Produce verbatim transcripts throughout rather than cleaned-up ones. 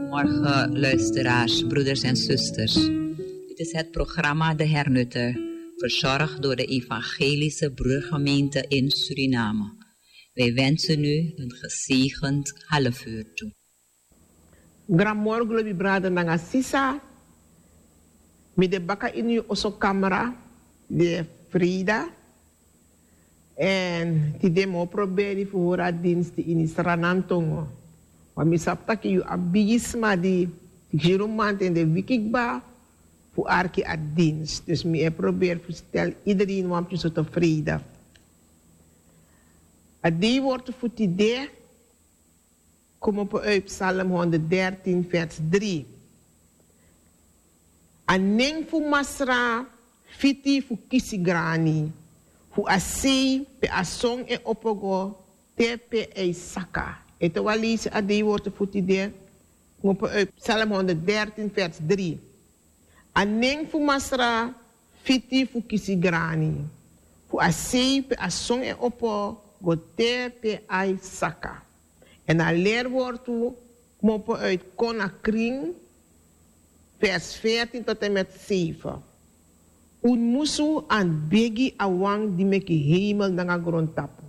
Morgen, luisteraars, broeders en zusters. Dit is het programma De Hernutter, verzorgd door de Evangelische Broedergemeente in Suriname. Wij wensen u een gezegend half uur toe. Granmorgen, lobi brada nanga sisa. Mi de baka ini yu oso kamra, de Frida. Èn tide mi o proberi fu hori a dinsti ini Sranan tongo. Ma mi sabi tak' yu abi bigi sma di, siksirumanten, de wiki kba fu arki a dinsti. Dus mi e proberi fu stel iedereen wan pikin so tevreden. A dei wortu fu tide komopo uit Psalm honderddertien, vers drie. A nen fu Masra fiti fu kisi grani, fu a sei pe a son e opo go te pe a e saka. Ete wan leisi a dei wortu fu tide, komopo uit Psalm honderddertien, vers drie. A nen fu Masra fiti fu kisi grani, fu a sei pe a son e opo go te pe a e saka. Èn a leri wortu komopo uit Kon na Krin, vers veertien tot en met zeven. Un musu anti begi a wan di meki hemel nanga grontapu.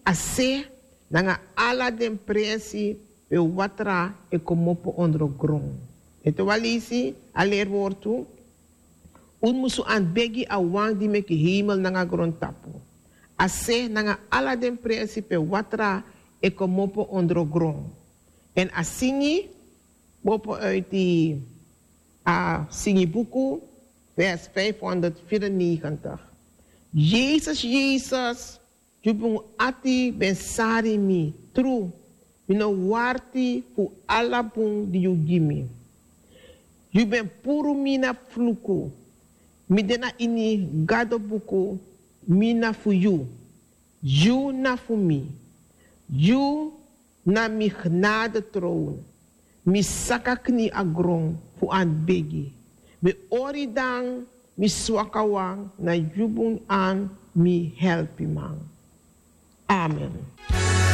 A se nanga ala den presi pe watra e komopo ondro gron. Ete wan leisi a leri wortu. Un musu anti begi a wan di meki hemel nanga grontapu. A se nanga ala den presi pe watra e komopo ondro gron. Èn a singi, komopo uit a singi buku, vers vijfhonderdvierennegentig. Yesus, Yesus, yu bun ati ben sari mi, tru, mi no warti fu ala bun di yu gi mi. Yu ben puru mi na fluku, mi de na ini Gado buku, mi na fu yu, yu na fu mi, yu na mi genade troon. Mi saka kni a gron fu anti begi. Mi ori dan mi swaka wan na yu bun an mi helpiman. Amen.